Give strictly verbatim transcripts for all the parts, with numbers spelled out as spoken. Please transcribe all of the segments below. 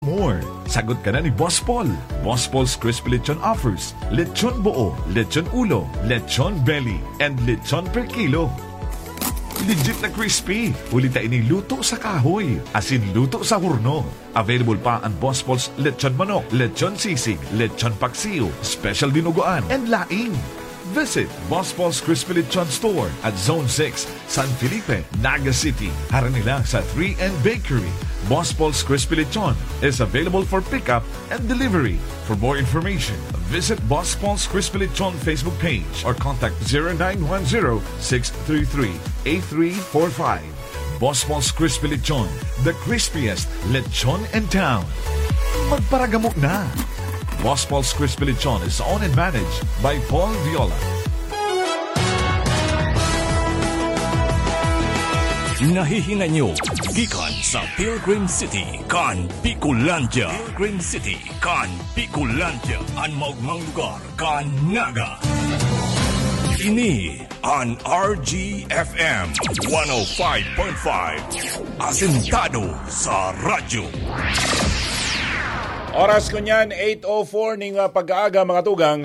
More. Sagot ka na ni Boss Paul. Boss Paul's Crispy Lechon offers lechon buo, lechon ulo, lechon belly, and lechon per kilo. Legit na crispy. Huli ta ini luto sa kahoy. Asin luto sa horno. Available pa ang Boss Paul's lechon manok, lechon sisig, lechon paksiw, special dinuguan, and laing. Visit Boss Paul's Crispy Lechon Store at Zone six, San Felipe, Naga City. Harani lang sa three N Bakery. Boss Paul's Crispy Lechon is available for pickup and delivery. For more information, visit Boss Paul's Crispy Lechon Facebook page or contact zero nine one zero, six three three, eight three four five. Boss Paul's Crispy Lechon, the crispiest lechon in town. Magparagamo na! Boss Paul's Crispy Lechon is owned and managed by Paul Viola. Nahihinay nyo gikan sa Pilgrim City kan Bicolandia. Pilgrim City kan Bicolandia, an maogmang lugar kan Naga. Ini an R G F M one oh five point five, asentado sa radyo. Oras ko niyan, eight oh four ning, ah, pag-aaga, mga tugang.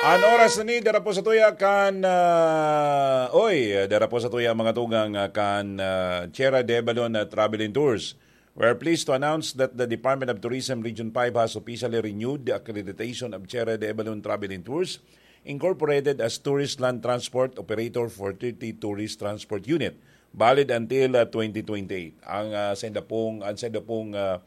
An oras na ni, dara po sa tuya kan, ah, oy, dara po sa tuya, mga tugang, ah, kan, ah, Tierra de Balon, ah, Travel and Tours. We're pleased to announce that the Department of Tourism Region five has officially renewed the accreditation of Tierra de Balon Travel and Tours, Incorporated, as Tourist Land Transport Operator for thirty Tourist Transport Unit, valid until, ah, twenty twenty-eight. Ang, ah, sa inda pong, ang sa inda pong, ah,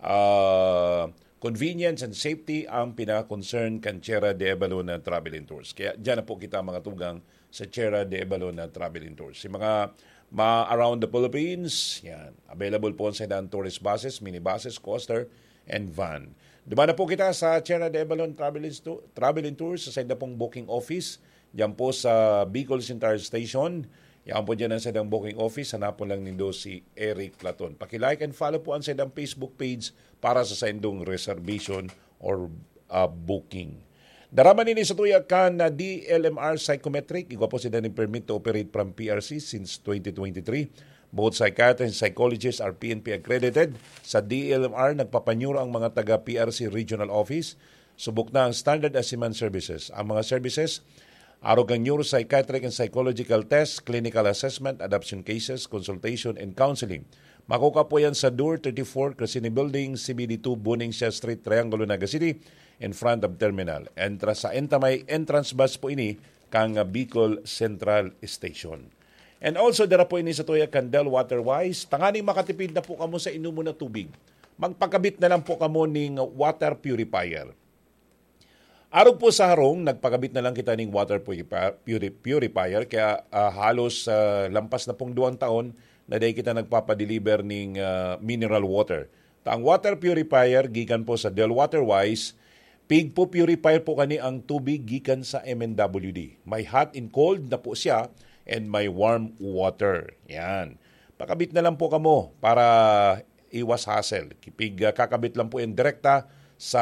ah, convenience and safety ang pinaka-concern kan Tierra de Balon Travel and Tours. Kaya diyan na po kita, mga tugang, sa Tierra de Balon Travel and Tours. Yung mga ma-, around the Philippines, yan. Available po sa daan tourist buses, minibuses, coaster, and van. Duman na po kita sa Tierra de Balon Travel and Stu-, Travel and Tours, sa sainda pong booking office, diyan po sa Bicol Central Station. Yan po diyan ang saindang booking office. Hanapon lang nindo si Eric Platon. Paki-like and follow po ang saindang Facebook page para sa saindong reservation or, ah, booking. Dara man ini sa tuya kan, ah, D L M R Psychometric. Igwa po sila nin permit to operate from P R C since twenty twenty-three. Both psychiatrists and psychologists are P N P accredited. Sa D L M R, nagpapanyuro ang mga taga P R C Regional Office. Subok na ang standard as-, services. Ang mga services, arog kan neuropsychiatric and psychological test, clinical assessment, adoption cases, consultation, and counseling. Makukuha po yan sa Door thirty-four, Crescini Building, C B D two, Buning Siya Street, Triangulo, Naga City, in front of terminal. Entra sa Entamay, entrance bus po ini kan Bicol Central Station. And also, dara po ini sa tuya kan Del Water Wise. Tanganing makatipid na po kamo sa inomon na tubig. Magpakabit na lang po kamo ning water purifier. Arog po sa harong, nagpakabit na lang kita ning water purifi-, puri-, purifier, kaya, ah, halos, ah, lampas na pong duwang taon na dai kita nagpapadeliver ning, ah, mineral water. Ta ang water purifier, gikan po sa Del Water Wise, pigpo-purify po kani ang tubig gikan sa M N W D. May hot and cold na po siya and may warm water. Yan. Pakabit na lang po kamo para iwas hassle. Kipig, ah, kakabit lang po yan direkta sa,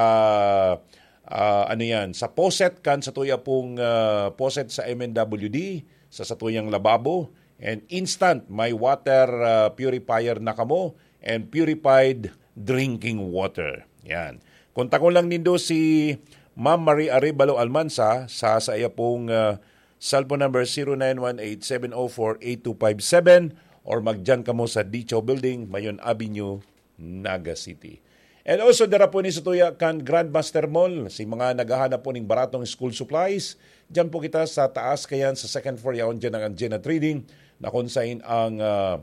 ah, ano yan, sa faucet kan sa tuya pong, ah, faucet sa M N W D, sa satuyang lababo, and instant, may water, ah, purifier na kamo and purified drinking water. Yan. Kontakon lang nindo si Ma'am Marie Arevalo Almansa sa, sa iya pong, ah, cellphone number zero nine one eight seven oh four eight two five seven or magdiyan kamo sa Dicho Building, Mayon Avenue, Naga City. And also, dara po ni sa tuya kan Grandmaster Mall, si mga naghahanap po ning baratong school supplies, diyan po kita sa taas kayan sa second floor, yaon diyan ang Anjena Trading, na kung sain ang, ah,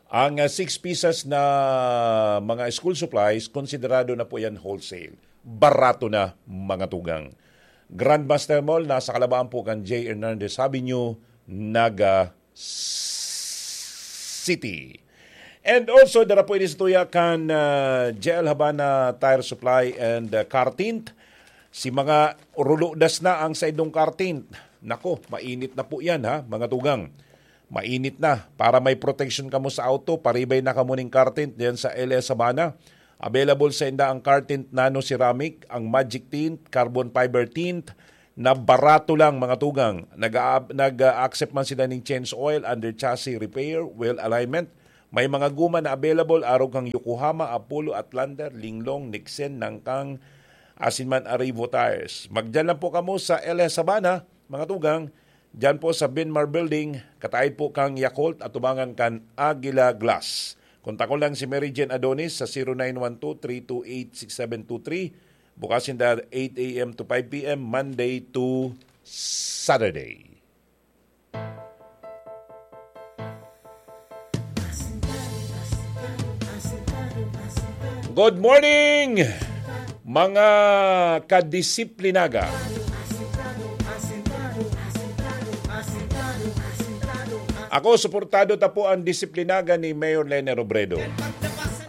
ang, ah, six pieces na mga school supplies, konsiderado na po yan wholesale. Barato na, mga tugang. Grandmaster Mall, nasa kalabaan po kan J Hernandez Avenue, Naga City. And also, dara po ini sa tuya kan, ah, J L Habana Tire Supply and, ah, Car Tint. Si mga ruludas na ang saindong car tint. Nako, mainit na po yan, ha, mga tugang. Mainit na. Para may protection kamo sa auto, paribay na kamo ning car tint diyan sa L S Habana. Available sa inda ang car tint nano ceramic, ang magic tint, carbon fiber tint, na barato lang, mga tugang. Nag-a-, nag-a-accept man sila ning change oil, under chassis repair, wheel alignment, May mga guma na available arog kan Yokohama, Apollo, Outlander, Linglong, Nexen, Nangkang, asin man Arrivo Tires. Magdiyan lang po kamo sa L S Sabana, mga tugang, diyan po sa Benmar Building, kataid po kan Yakult, atubangan kan Aguila Glass. Kontakon lang si Mary Jane Adonis sa zero nine one two, three two eight, six seven two three. Bukas sinda eight a m to five p m, Monday to Saturday. Good morning, mga kadisiplinaga. Ako, suportado ta po ang disiplinaga ni Mayor Leni Robredo.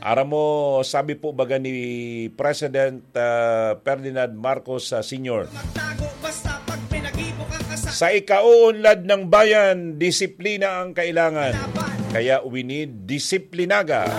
Aram mo, sabi po baga ni President, ah, Ferdinand Marcos, ah, Senior, "Sa ikauunlad ng bayan, disiplina ang kailangan. Kaya we need disiplinaga."